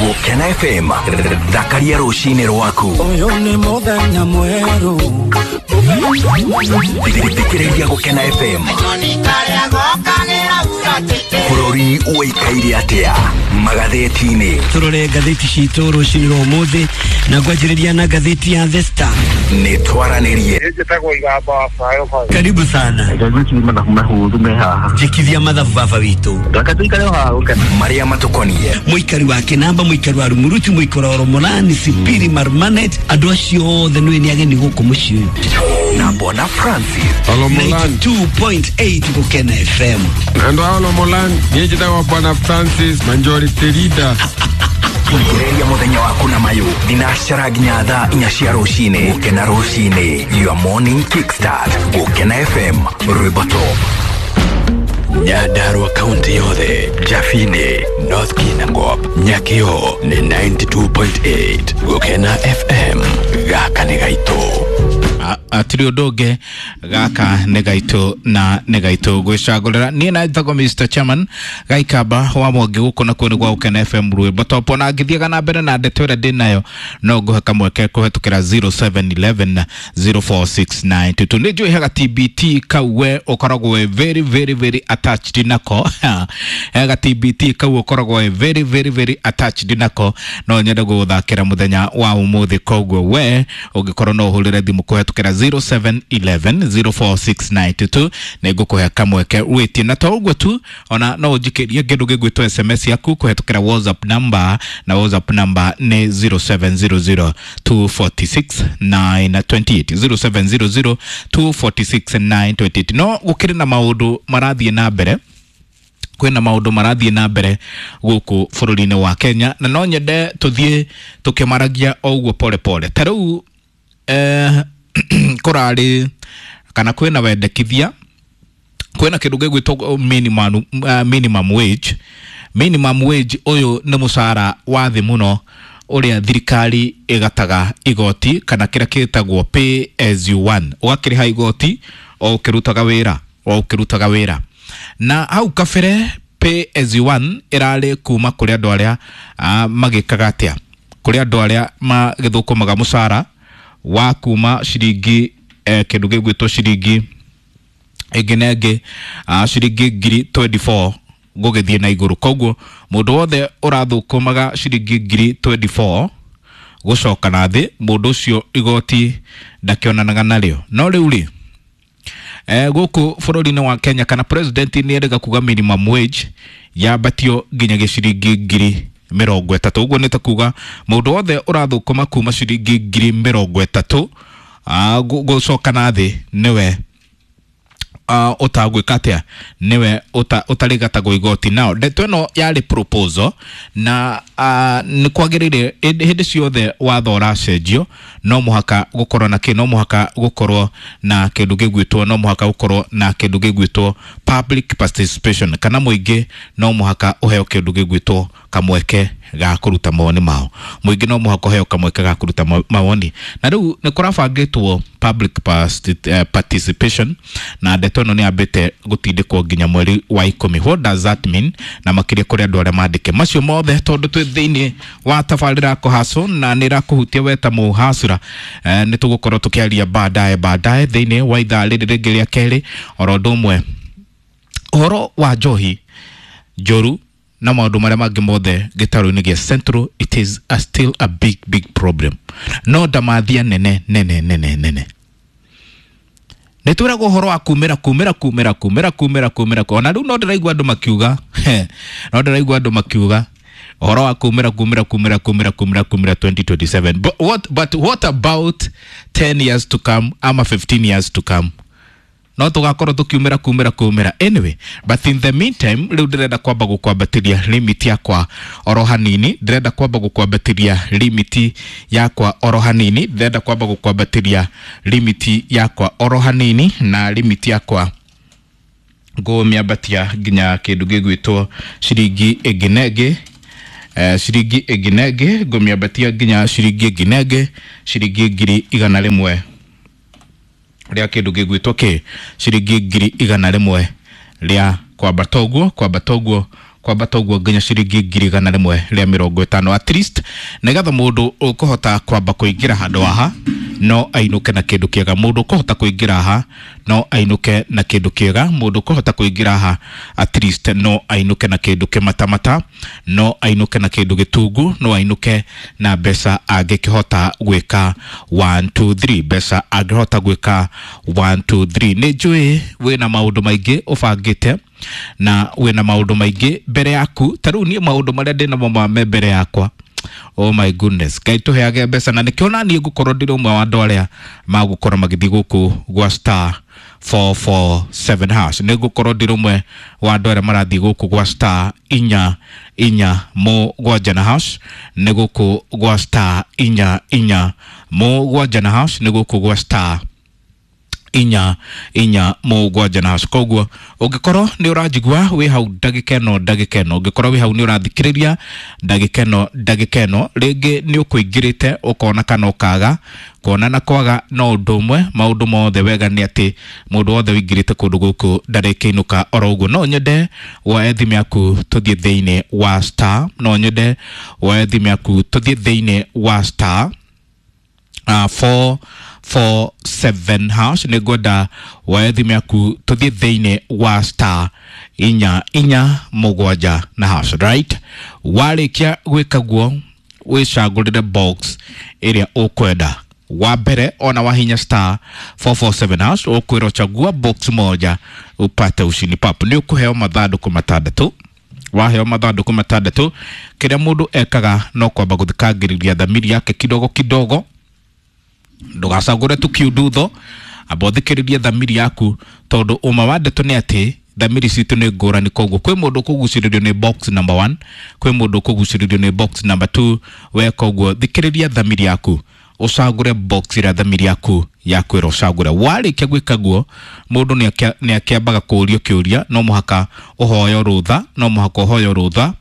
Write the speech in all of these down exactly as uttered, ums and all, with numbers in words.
Gũkena F M thakaria rũcinĩ rwaku. Ũyũ nĩ mũthenya mwerũ. Thikĩrĩria Gũkena F M. Bũrũri ũikaire atĩa magathĩti-inĩ? Tũrore ngathĩti citũ rũcinĩ rwa ũmũthĩ na ngwanjĩrĩria na ngathĩti ya The Star. Nĩ twaranĩrie. Karibu sana. Njikithia mathabu baba witũ. Marĩa matũkoniĩ. Mũikari wa Kĩnamba, mũikari wa Rumuruti, mũikari wa Romolani, Sipiri, Marmanet, andũ acio othe nĩ nĩ ageni gũkũ mũciĩ ũyũ. Na Bwana Francis. ninety two point eight Gũkena F M. Andũ a Olomolani, niĩ njĩtagwo Bwana Francis Majority Leader. Thikĩrĩria mũthenya waku na mayũ thinacara nginya thaa inya cia rũcinĩ. Gũkena rũcinĩ, your morning kickstart. Gũkena F M, rwĩmbo top. Nyandarua kaunti yothe, Jafini, North Kinangop, Nyakio ni ninety two point eight. Gũkena F M, gaka nĩ gaitũ. Atiri ũndũ ũngĩ, gaka nĩ gaitũ na nĩ gaitũ gwĩcagũrĩra. Niĩ na njĩtagwo Mister Chairman Gaikamba wa Mwangi gũkũ nakuo nĩ gwa Gũkena F M rwĩmbo top. Ona ngĩthiaga na mbere na ndeto ĩrĩa ndĩnayo no ngũhe kamweke kũhetũkĩra zero seven eleven zero four six nine two two. Nĩ njũĩ hega T B T kau we ũkoragwo wĩ very very very attached nako. Hega T B T kau ũkoragwo wĩ very very very attached nako. No nyende gũgũthakĩra mũthenya wa ũmũthĩ, koguo we ũngĩkorwo no ũhũrĩre thimũ kũhetũkĩra zero seven eleven zero four six nine two two nĩ ngũkũhe kamweke wĩtie. Na to ũguo tu, ona no ũnjikĩrie kĩndũ gĩgwĩtwo S M S yaku kũhetũkĩra WhatsApp number, na WhatsApp number nĩ zero seven zero zero two four six nine two eight, zero seven zero zero two four six nine two eight. No gũkĩrĩ na maũndũ marathiĩ na mbere, kwĩna maũndũ marathiĩ na mbere gũkũ bũrũri-inĩ wa Kenya, na no nyende tũthiĩ tũkĩmaragia o ũguo pole pole. Ta rĩu, eh, kũrarĩ kana kwĩna wendekithia, kwĩna kĩndũ gĩgwĩtwo minimum, uh, minimum wage. Minimum wage ũyũ nĩ mũcara wa thĩ mũno ũrĩa thirikari ĩgataga igoti, kana kĩrĩa gĩtagwo pay as you earn. Ũgakĩrĩha igoti o ũkĩrutaga wĩra, o ũkĩrutaga wĩra. Na hau kabere pay as you earn ĩrarĩ kuma kũrĩ andũ arĩa, uh, magĩkaga atĩa, kũrĩ andũ arĩa magĩthũkũmaga mũcara wa kuma ciringi, eh, kĩndũ gĩgwĩtwo ciringi ĩngĩ na ĩngĩ, ah, ciringi ngiri twenty four gũgĩthiĩ na igũrũ. Koguo mũndũ wothe ũrathũkũmaga ciringi ngiri twenty four gũcoka na thĩ, mũndũ ũcio igoti ndakĩonanaga narĩo. No rĩu rĩ, eh, gũkũ bũrũri-inĩ wa Kenya, kana president nĩ erĩga kuga minimum wage yambatio nginya gĩciringi ngiri mĩrongo ĩtatũ. Ũguo nĩ ta kuga mũndũ wothe ũrathũkũma kuma ciringi ngiri mĩrongo ĩtatũ, ah, gũ-, gũcoka na thĩ nĩwe, ah, ũtagwĩka atĩa, nĩwe ũta-, ũtarĩgatagwo igoti. Nao ndeto ĩno yarĩ proposal, na, ah, nĩ kwagĩrĩire hĩndĩ, hĩndĩ ciothe watho ũracenjio no mũhaka gũkorwo na kĩ, no mũhaka gũkorwo na kĩndũ gĩgwĩtwo, no mũhaka gũkorwo na kĩndũ gĩgwĩtwo public participation, kana mũingĩ no mũhaka ũheo kĩndũ gĩgwĩtwo kamweke ga kũruta mawoni mao. Mũingĩ no mũhaka ũheo kamweke ga kũruta ma-, mawoni. Na rĩu nĩ kũrabangĩtwo public particip-, eh, participation, na ndeto ĩno nĩ yambĩte gũtindĩkwo nginya mweri wa ikũmi. What does that mean? Na makĩria kũrĩ andũ arĩa mandĩke macio mothe, tondũ twĩ thĩinĩ wa tabarĩra ya kũhacwo na nĩ ĩrakũhutia we ta mũhacũra. Eh, nĩ tũgũkorwo tũkĩaria baadaye baadaye thĩinĩ wa ithaa rĩrĩ rĩngĩ rĩa kerĩ. Oro ũndũ ũmwe, ũhoro wa njohi njũru na maũndũ marĩa mangĩ mothe gĩtarũ-inĩ gĩa Central, it is a still a big big problem. No ndamathia nene nene nene nene. Nĩ twĩragwo ũhoro wa kumĩra, kumĩra, kumĩra, kumĩra, kumĩra, kumĩra. Ona rĩu no ndĩraigua andũ makiuga, no ndĩraigua andũ makiuga ũhoro wa kumĩra, kumĩra, kumĩra, kumĩra, kumĩra, kumĩra twenty twenty seven. But what, but what about ten years to come ama fifteen years to come? No tũgakorwo tũkiumĩra, kumĩra, kumĩra. Anyway, but in the meantime, rĩu ndĩrenda kwamba gũkwambatĩria limit yakwa oro hanini, ndĩrenda kwamba gũkwambatĩria limit yakwa oro hanini, ndĩrenda kwamba gũkwambatĩria limit yakwa oro hanini, na limit yakwa ngũmĩambatia nginya kĩndũ gĩgwĩtwo ciringi ĩngĩ na ĩngĩ. Eh, ciringi ĩngĩ na ĩngĩ ngũmĩambatia nginya ciringi ĩngĩ na ĩngĩ, ciringi ngiri igana rĩmwe rĩa kĩndũ gĩgwĩtwo kĩ, ciringi ngiri igana rĩmwe rĩa kwambata ũguo, kwambata ũguo, Kwambata ũguo nginya ciringi ngiri igana rĩmwe rĩa mĩrongo ĩtano at least, nĩgetha mũndũ ũkũhota kwamba kũingĩra handũ haha no ainũke na kĩndũ kĩega. Mũndũ ũkũhota kũingĩra haha no ainũke na kĩndũ kĩega. Mũndũ ũkũhota kũingĩra haha at least no ainũke na kĩndũ kĩmatamata, no ainũke na kĩndũ gĩtungu, no ainũke na mbeca angĩkĩhota gwĩka one two three, mbeca angĩhota gwĩka one two three. Nĩ njũĩ wĩna maũndũ maingĩ ũbangĩte na wĩna maũndũ maingĩ mbere yaku. Ta rĩu niĩ maũndũ marĩa ndĩnamo ma me mbere yakwa, oh my goodness, Ngai tũheage mbeca. Na nĩkĩo na niĩ ngũkorwo ndĩrĩ ũmwe wa andũ arĩa magũkorwo magĩthiĩ gũkũ gwa star four four seven hash. Nĩ ngũkorwo ndĩrĩ ũmwe wa andũ arĩa marathiĩ gũkũ gwa star inya inya mũgwanja na hash. Nĩ gũkũ gwa star inya inya mũgwanja na hash. Nĩ gũkũ gwa star inya inya mũgwanja na hash. Koguo ũngĩkorwo nĩ ũranjigua wĩ hau ndagĩka ĩno, ndagĩka ĩno ũngĩkorwo wĩ hau nĩ ũrathikĩrĩria ndagĩka ĩno, ndagĩka ĩno rĩngĩ nĩ ũkũingĩrĩte ũkona kana ũkaga kuona na kwaga no ũndũ ũmwe. Maũndũ mothe wega nĩ atĩ mũndũ wothe ũingĩrĩte kũndũ gũkũ ndarĩkĩinũka oro ũguo. No nyende woe thimũ yaku tũthiĩ thĩinĩ wa star, no nyende woe thimũ yaku tũthiĩ thĩinĩ wa star uh, four four seven hash. Nĩ ngwenda woe thimũ yaku tũthiĩ thĩinĩ wa star inya inya mũgwanja na hash, right? Warĩkia gwĩka guo wĩcagũrĩre box ĩrĩa ũkwenda. Wa mbere ona wahinya star four four seven hash ũkwĩrwo chagua box moja upate ushindi pap. Nĩ ũkũheo mathandũkũ matandatũ. Waheo mathandũkũ matandatũ, kĩrĩa mũndũ ekaga no kwamba gũthikangĩrĩria thamiri yake kidogo kidogo. Ndũgacagũre tu kiundutho, amba ũthikĩrĩrie thamiri yaku, tondũ ũma wa ndeto nĩ atĩ thamiri citũ nĩ ngũrani. Koguo kwĩ mũndũ ũkũgucĩrĩrio nĩ box number one, kwĩ mũndũ ũkũgucĩrĩrio nĩ box number two. We koguo thikĩrĩria thamiri yaku, ũcagũre box ĩrĩa thamiri yaku yakwĩra ũcagũre. Warĩkia gwĩka guo, mũndũ nĩ akĩambaga kũũrio kĩũria, no mũhaka ũhoyo rũtha, no mũhaka ũhoyo rũtha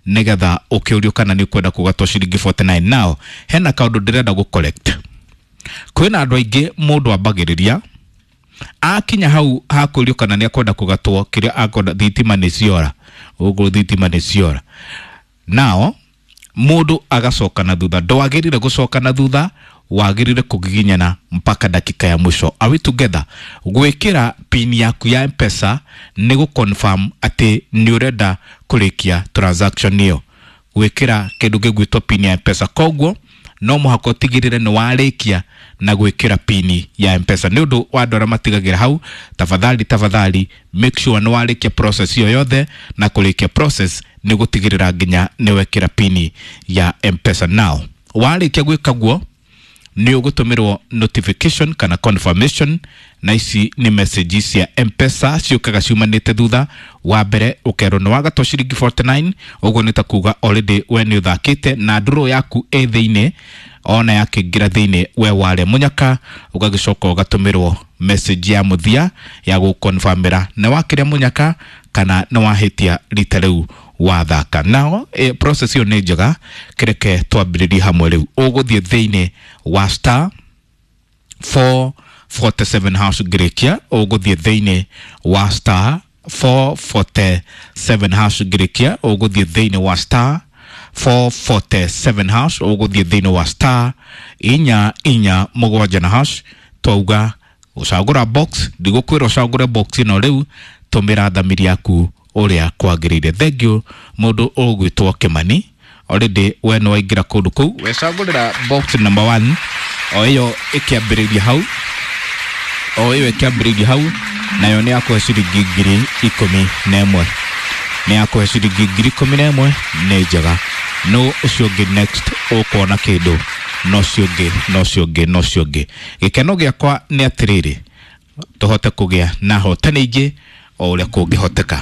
nĩgetha ũkĩũrio kana nĩ ũkwenda kũgatwo ciringi forty nine. Now hena kaũndũ ndĩrenda gũ correct. Kwĩna andũ aingĩ mũndũ ambagĩrĩria akinya hau hakũrio kana nĩ akwenda kũgatwo kĩrĩa akwenda, thitima nĩ ciora, ũguo thitima nĩ ciora. Nao mũndũ agacoka na thutha. Ndwagĩrĩire gũcoka na thutha, wagĩrĩire kũgiginyana mpaka dakika ya mwisho. Are we together? Gwĩkĩra pin yaku ya M-Pesa nĩ gũ confirm atĩ nĩ ũrenda kũrĩkia transaction ĩyo. Gwĩkĩra kĩndũ gĩgwĩtwo pin ya M-Pesa, koguo no mũhaka ũtigĩrĩre nĩ warĩkia na gwĩkĩra pini ya M-Pesa. Nĩ ũndũ wa andũ arĩa matigagĩra hau, tafadhali tafadhali make sure nĩ warĩkia process ĩyo yothe, na kũrĩkia process nĩ gũtigĩrĩra nginya nĩ wekĩra pini ya M-Pesa. Now warĩkia gwĩka guo nĩ ũgũtũmĩrwo notification kana confirmation, na ici nĩ message cia M-Pesa ciũkaga ciumanĩte thutha. Wa mbere ũkerwo nĩ wagatwo ciringi forty nine, ũguo nĩ ta kuga already we nĩ ũthakĩte na ndũrũ yaku ĩ thĩinĩ, ona yakĩingĩra thĩinĩ we warĩa mũnyaka. Ũgagĩcoka ũgatũmĩrwo message ya mũthia ya gũkonfirmĩra nĩ wakĩrĩa mũnyaka kana nĩ wahĩtia rita rĩu wathaka. Nao e, process ĩyo nĩ njega, kĩreke twambĩrĩrie hamwe rĩu. Ũgũthiĩ thĩinĩ wa star four forty seven hash ngĩrĩkia, ũgũthiĩ thĩinĩ wa star four forty seven hash ngĩrĩkia, ũgũthiĩ thĩinĩ wa star four forty seven hash, ũgũthiĩ thĩinĩ wa star inya inya mũgwanja na hash. Twauga ũcagũra box, ndigũkwĩra ũcagũre box ĩno rĩu, tũmĩra thamiri yaku ũrĩa kwagĩrĩire. Thank you mũndũ ũgwĩtwo Kĩmani, already we nĩ waingĩra kũndũ kũu, wecagũrĩra box number one, o ĩyo ĩkĩambĩrĩria hau, o ĩyo ĩkĩambĩrĩria hau, nayo nĩ yakũhe ciringi ngiri ikũmi na ĩmwe, nĩ yakũhe ciringi ngiri ikũmi na ĩmwe. Nĩ njega. No ũcio ũngĩ next ũkuona kĩndũ, no ũcio ũngĩ, no ũcio ũngĩ, no ũcio ũngĩ. Gĩkeno gĩakwa nĩ atĩrĩrĩ, tũhote kũgĩa na hotani ingĩ o ũrĩa kũngĩhoteka,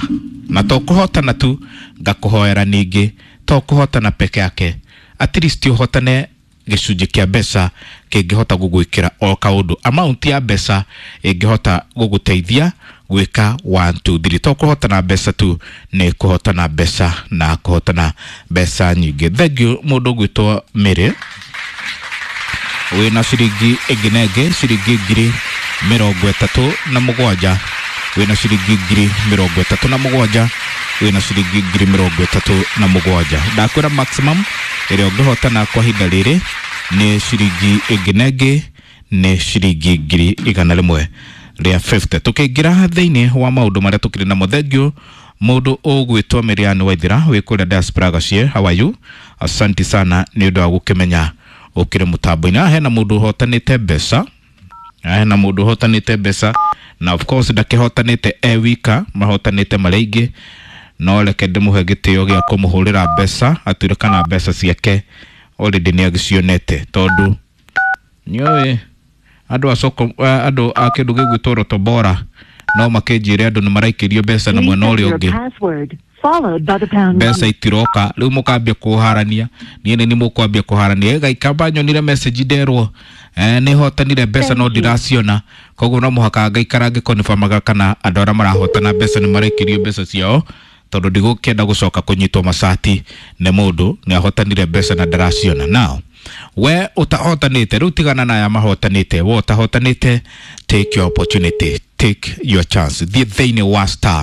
na to kũhotana tu, ngakũhoera ningĩ to kũhotana peke yake, at least ũhotane gĩcunjĩ kĩa mbeca kĩngĩhota gũgwĩkĩra o kaũndũ, amount ya mbeca ĩngĩhota gũgũteithia gwĩka one two three. To kũhotana mbeca tu, nĩ kũhotana mbeca na kũhotana mbeca nyingĩ. Thank you mũndũ ũgwĩtwo Mary, wĩna ciringi ĩngĩ na ĩngĩ, ciringi ngiri mĩrongo ĩtatũ na mũgwanja. Wĩna ciringi ngiri mĩrongo ĩtatũ na mũgwanja, wĩna ciringi ngiri mĩrongo ĩtatũ na mũgwanja. Ndakwĩra maximum ĩrĩa ũngĩhotana kwa ihinda rĩrĩ nĩ ciringi ĩngĩ na ĩngĩ nĩ ciringi ngiri igana rĩmwe rĩa fifty. Tũkĩingĩra thĩinĩ wa maũndũ marĩa tũkĩrĩ namo, thengiũ mũndũ ũgwĩtwo Miriam Waithira wĩ kũrĩa diaspora Gacie, how are you? Asante sana nĩ ũndũ wa gũkĩmenya ũkĩrĩ mũtambo-inĩ. Haha hena mũndũ ũhotanĩte mbeca, haha hena mũndũ ũhotanĩte mbeca, na of course ndakĩhotanĩte e wika, mahotanĩte marĩ aingĩ, no reke ndĩmũhe gĩtĩo gĩa kũmũhũrĩra mbeca atwĩre kana mbeca ciake already nĩ agĩcionete, tondũ nĩũĩ andũ a soko, eh, andũ a kĩndũ gĩgwĩtwo Roto Bora no makĩnjĩre andũ nĩ maraikĩrio mbeca na mwena ũrĩa ũngĩ Password followed by the pound mbeca itiroka. Rĩu mũkambia kũharania, niĩ nĩ mũkwambia kũharania. Gaikamba nyonire message nderwo eh, nĩ hotanire mbeca no ndiraciona, koguo no mũhaka ngaikara ngĩkonfirmaga kana andũ arĩa marahotana mbeca nĩ maraikĩrio mbeca ciao, tondũ ndigũkĩenda gũcoka kũnyitwo macati nĩ mũndũ nĩ ahotanire mbeca na ndaraciona. Now we ũtahotanĩte, rĩu tigana na aya mahotanĩte, we ũtahotanĩte, take your opportunity, take your chance, thiĩ thĩinĩ wa star